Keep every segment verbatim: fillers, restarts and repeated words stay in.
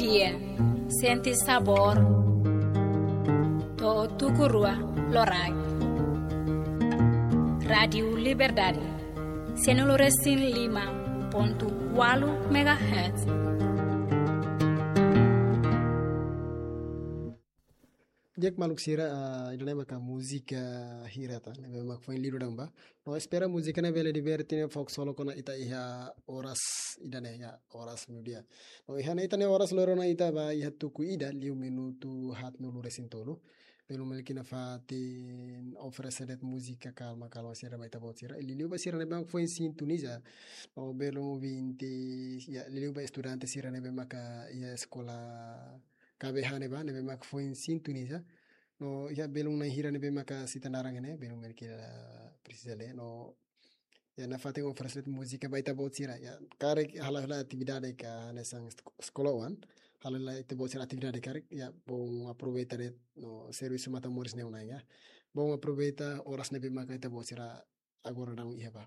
Dia, sente sabór. To'o tuku rua loraik. Rádiu Liberdade, cento e cinco e cinco ponto quatro megahertz. Di'ak maluk sira, ah, ida-ne'e maka múzika hira ida ne'ebé mak foin liu daudaun ba. No espera múzika ne'e bele diverte ne'e fó ksolok ona ita iha oras ida-ne'e, ya, oras meiudia. No iha ne'e ita-nia oras lorona ita ba iha tuku ida liu minutu haatnulu resin tolu. Belun Melki nafatin oferese de'it múzika kalma-kalma sira ba ita-boot sira. Liuliu ba sira ne'ebé mak foin sintoniza. No belun ouvinte, ya, liuliu ba estudante sira ne'ebé maka iha eskola K B H ne'ebá, ne'ebé mak foin sintoniza. No iha belun na'in hira ne'ebé maka sita naran ne'e, belun Melki la presiza lee. No, ya, nafatin oferese de'it múzika ba ita-boot sira. Ya, karik halo hela atividade ka hanesan esk-, eskola oan. Halo hela ita-boot sira atividade karik, ya, bom aproveita de'it, no servisu matan-moris ne'e ona, ya. Bom aproveita oras ne'ebé maka ita-boot sira agora daudaun iha ba.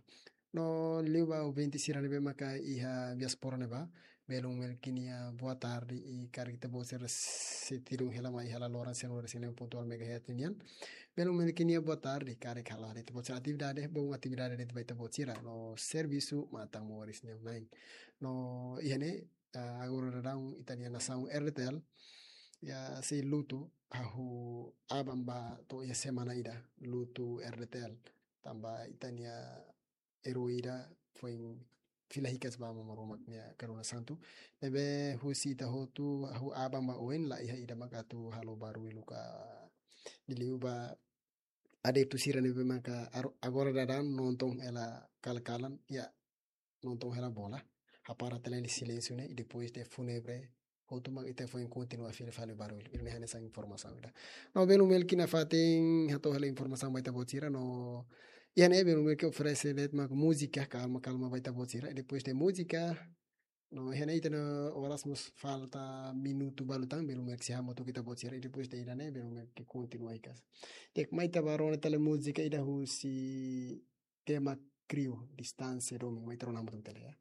No liu ba ouvinte sira ne'ebé maka iha diáspora ne'ebá, belun Melki nia boa tarde i karik ita-boot sira sei tidung hela mai iha laloran cento e cinco ponto oito megahertz nian. Belun Melki nia boa tarde, karik halo hela ita-boot sira atividade, bom atividade de'it ba ita-boot sira, no servisu matan-moris ne'e ona. No iha ne'e, ah, agora daudaun ita-nia nasaun R D T L, ya, sei lutu hahú aban ba to'o iha semana ida, lutu R D T L. Tanba ita-nia eroi ida foin fila hikas ba Aman Maromak nia karuna santu. Ne'ebé husi ita hotu hahú aban ba oin la iha ida mak atu halo barullu ka liuliu ba adeptu sira ne'ebé maka ar-, agora daudaun nonton hela kalan-kalan, ya, nonton hela bola. Hapara tiha ona silénsiu ne'e, i depois de fúnebre, hotu mak ita foin kontinua fila fali barullu. Ida-ne'e hanesan informasaun ida. No belun Melki nafatin hato'o hela informasaun ba ita-boot sira, no iha ne'e belun Melki oferese de'it mak múzika kalma-kalma ba ita-boot sira. I depois de múzika, no iha ne'e ita-nia oras mós falta minutu balu tan, belun Melki sei hamutuk ita-boot sira. I depois de ida-ne'e, belun Melki kontinua hikas. Di'ak, mai ita ba rona tiha ona múzika ida husi tema Kriu, Distánsia Domin, mai ita rona hamutuk tiha ona, ya.